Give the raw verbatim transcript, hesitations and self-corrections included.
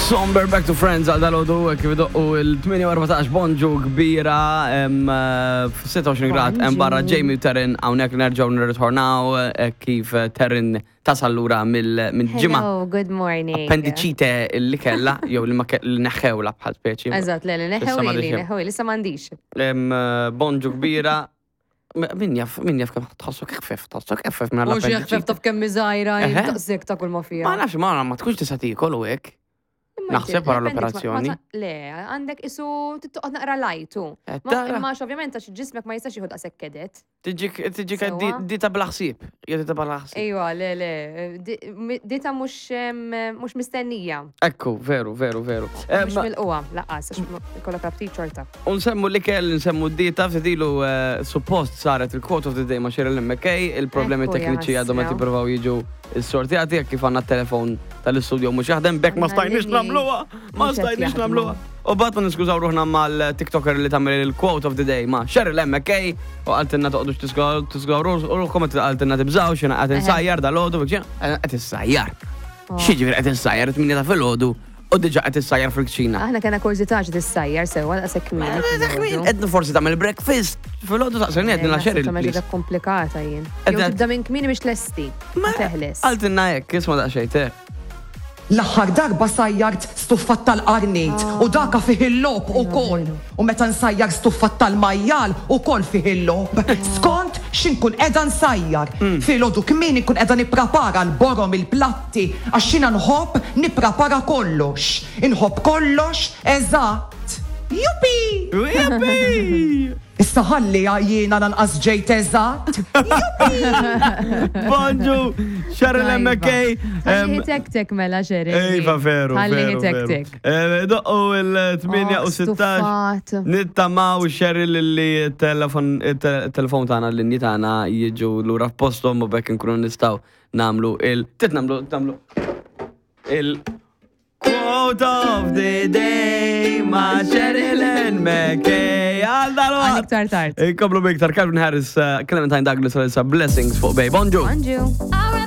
Somber Back to Friends għal dal-għodu kif idoqqu il-tmienja u erbatax. Bonġu kbira, em, eh, f-sitta u għoxrin grad hemm barra. Bonġu. Jamie u Terin hawnhekk, nerġgħu nirritornaw eh, kif eh, Terin tasal lura mill-ġimgħa. Hello, good morning. Appendicite li kella, jew li ma ke- li neħħewla bħal speċi. Eżatt, le, le, Issa neħew ma li, diċem. neħew li, issa m'għandix. Em, eh, Bonġu kbira. M- Min jaf, min jaf kemm tħossu kif tħossu kif minn Mhux jaħfef l-appendicite. Taf kemm miżajra, Eħe. taqsek ta' kull ma fija. Ma nafx, ma ma tkunx tista' tiekol u hekk. Imma Naħseb inti, wara l-appendix ma- l-operazzjoni. ma ta- Le, għandek isu tittoqgħod naqra lajtu. Eh, Ma tara. Imma ovvjament għax ġismek ma jistax jieħu daqshekk kedet. Tiġik, tiġik Sewwa. dita bla ħsieb. Jew dita bla ħsieb. Ejwa, le, le, di- mi- dita mhux em, mhux mistennija. Ekku, veru, veru, veru. Mhux Em, mill-qwa, laqqas, għax ma- ikollok aptit xorta. Unsemmu l-ikel, nsemmu d-dieta, ftidilu eh, suppost saret il-quote of the day ma' Sheryl McKay, il-problemi Ekku, tekniċi ja għadhom qed ħasra. jippruvaw jiġu s-sortjati, jekk kif għandna t-telefon tal-istudio mhux jaħdem, bekk ma Għandna stajniex l-linji nagħmluha, ma mhux qed stajniex jaħdmu. nagħmluha. U bat ma niskużaw ruħna mal-TikToker li tagħmel il-quote of the day ma' Sheryl McKay u qaltilna toqgħodux tiskużaw ruħkom, qaltilna tibżgħux, xina qed insajjar dal-għodu, qed issajjar. Oh. X'jiġifieri qed issajjar it-tmienja ta' filgħodu u diġà qed issajjar fil-kċina? Aħna kena kurżità xi tissajjar sewwa daqshekk kmieni. Edna forsi tagħmel breakfast filgħodu, saqsejni għedna Sheryl, Ta' please. komplikata jien. Jew Edna- tibda minn kmieni biex tlesti. Ma teħles. Qaltilna hekk, isma' daqsxejn te. L-aħħar darba sajjart stuffat tal-qarnit u daka fih il-logħob ukoll. U meta nsajjar stuffat tal-majjal ukoll fih il-logħob. Skont x'inkun qiegħda nsajjar. Filgħodu kmieni nkun qiegħda nipprepara l-borom, il-platti, għax jiena nħobb nipprepara kollox. Inħobb kollox eżatt. Jupi! Jupi! Issa ħalli jiena lanqas ġejt eżatt. Bonġu, Sheryl Tajba. McKay. Ħalli tek tek mela, Sheryl. Ejva, veru, Ħalli veru, tek veru. tek. Eh, Doqqu il-tmienja Oh, u sittax. stuffat. Nittamaw, Sheryl, li telefon telefon tagħna, l-linji tagħna jiġu lura f'posthom u bekk nkunu nistgħu nagħmlu il tit nagħmlu nagħmlu il quote of the day ma' Sheryl McKay għal Għal dal iktar tard. Inkomplu biktar Calvin Harris, uh, Clementine Douglas, Alissa, Blessings fuq Bay. Bonġu. Bonġu.